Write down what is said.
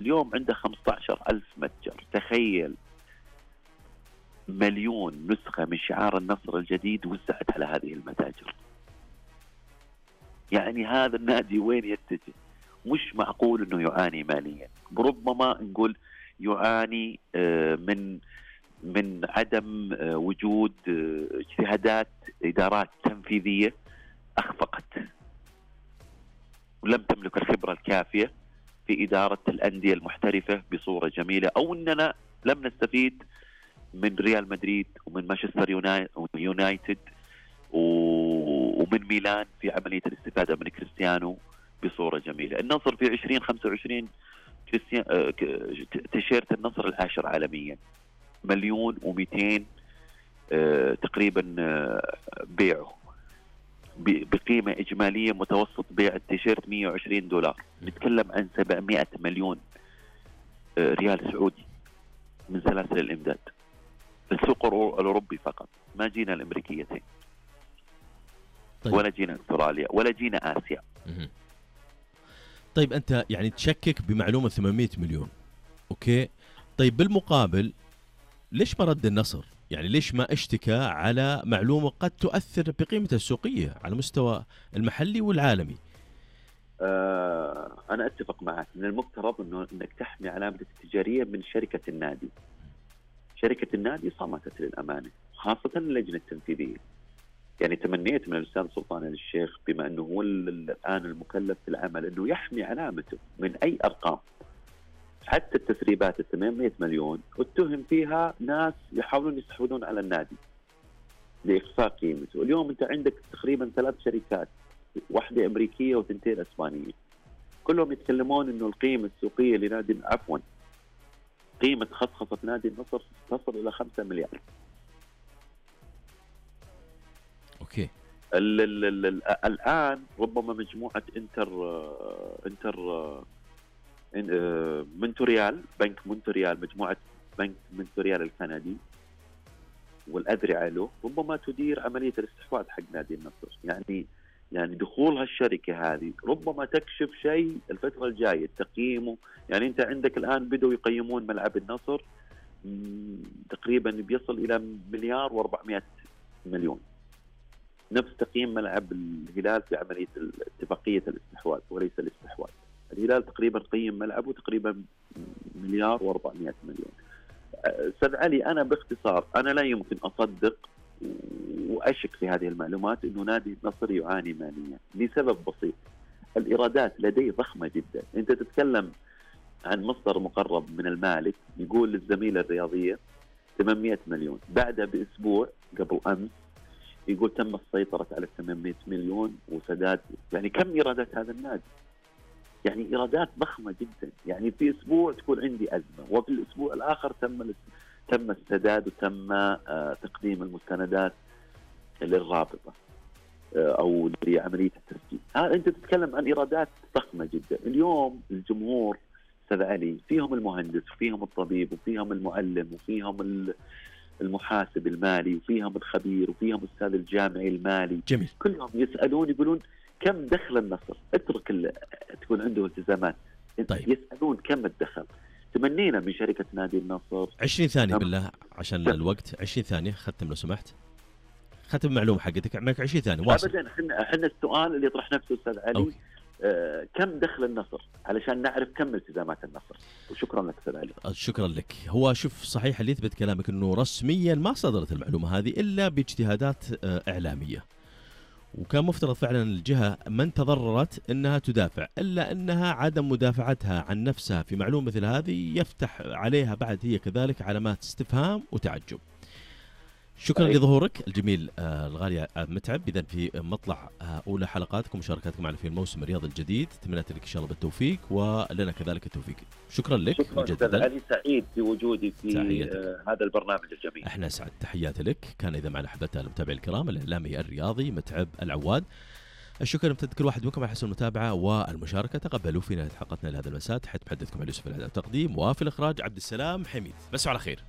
اليوم عنده 15,000 متجر. تخيل 1,000,000 نسخة من شعار النصر الجديد وزعت على هذه المتاجر. يعني هذا النادي وين يتجه؟ مش معقول انه يعاني ماليا. ربما نقول يعاني من عدم وجود اجتهادات ادارات تنفيذية اخفقت ولم تملك الخبرة الكافية في إدارة الأندية المحترفة بصورة جميلة، أو أننا لم نستفيد من ريال مدريد ومن مانشستر يونايتد ومن ميلان في عملية الاستفادة من كريستيانو بصورة جميلة. النصر في 2025 تيشيرت النصر العاشر عالميا، 1,200,000 تقريبا بيعه بقيمة إجمالية متوسط بيع التيشيرت $120. نتكلم عن 700 مليون ريال سعودي من سلاسل الإمداد في السوق الأوروبي فقط. ما جينا الأمريكيتين. طيب. ولا جينا أستراليا ولا جينا آسيا. طيب أنت يعني تشكك بمعلومة 800 مليون، أوكي. طيب بالمقابل ليش ما رد النصر؟ يعني ليش ما اشتكى على معلومة قد تؤثر بقيمته السوقية على مستوى المحلي والعالمي؟ أنا أتفق معك. من المفترض أنك تحمي علامتك التجارية من شركة النادي. شركة النادي صمتت للأمانة، خاصة اللجنة التنفيذية. يعني تمنيت من الأستاذ سلطان آل الشيخ بما أنه هو الآن المكلف في العمل أنه يحمي علامته من أي أرقام. حتى التسريبات 800 مليون اتهم فيها ناس يحاولون يستحوذون على النادي لإخفاء قيمته. اليوم أنت عندك تقريبا 3 شركات، واحدة أمريكية وثنتين أسبانية، كلهم يتكلمون أنه القيمة السوقية لنادي قيمة خصخصة نادي النصر تصل إلى 5 مليار. أوكي. الآن ربما مجموعة مونتريال، بنك مونتريال، مجموعة بنك مونتريال الكندي والأذرع له ربما تدير عملية الاستحواذ حق نادي النصر. يعني دخول هالشركة هذه ربما تكشف شيء الفترة الجاية تقييمه. يعني أنت عندك الآن بدوا يقيمون ملعب النصر تقريبا بيصل إلى 1,400,000,000، نفس تقييم ملعب الهلال في عملية اتفاقية الاستحواذ وليس الاستحواذ. الهلال تقريبا قيم ملعبه تقريبا 1,400,000,000. أستاذ علي، أنا باختصار أنا لا يمكن أصدق وأشك في هذه المعلومات أنه نادي النصر يعاني ماليا لسبب بسيط. الإيرادات لديه ضخمة جدا. أنت تتكلم عن مصدر مقرب من المالك يقول للزميلة الرياضية 800 مليون، بعدها بأسبوع قبل أمس يقول تم السيطرة على 800 مليون وسداد. يعني كم إيرادات هذا النادي؟ يعني إيرادات ضخمة جدا. يعني في أسبوع تكون عندي أزمة وفي الأسبوع الآخر تم السداد وتم تقديم المستندات للرابطة أو لعملية التسجيل. أنت تتكلم عن إيرادات ضخمة جدا. اليوم الجمهور أستاذ علي فيهم المهندس وفيهم الطبيب وفيهم المعلم وفيهم المحاسب المالي وفيهم الخبير وفيهم أستاذ الجامعي المالي. جميل. كلهم يسألون يقولون كم دخل النصر؟ اترك تكون عنده التزامات. طيب. يسألون كم الدخل. تمنينا من شركة نادي النصر 20 ثانية بالله عشان الوقت. 20 ثانية ختم لو سمحت. ختم معلومة حقتك معك 20 ثانية واصل. أبدا احنا السؤال اللي يطرح نفسه أستاذ علي كم دخل النصر علشان نعرف كم التزامات النصر. وشكرا لك أستاذ علي. شكرا لك. هو شوف صحيح اللي يثبت كلامك أنه رسميا ما صدرت المعلومة هذه إلا باجتهادات إعلامية، وكان مفترض فعلا الجهة من تضررت أنها تدافع، إلا أنها عدم مدافعتها عن نفسها في معلومة مثل هذه يفتح عليها بعد هي كذلك علامات استفهام وتعجب. شكرا لظهورك الجميل الغالي متعب. إذن في مطلع أولى حلقاتكم ومشاركاتكم معنا في الموسم الرياضي الجديد، تمنيت لك إن شاء الله بالتوفيق ولنا كذلك التوفيق. شكرا لك. شكرا أستاذ علي، سعيد في وجودي في هذا البرنامج الجميل. احنا سعد. تحياتي لك. كان إذا معنا أحبتنا المتابعين الكرام الإعلامي الرياضي متعب العواد. الشكر لمتابعة كل واحد منكم على حسن المتابعة والمشاركة. تقبلوا فينا حلقتنا لهذا المساء. تحية محدثكم علي يوسف الإعداد والتقديم، وفي الإخراج عبد السلام حميد. بس على خير.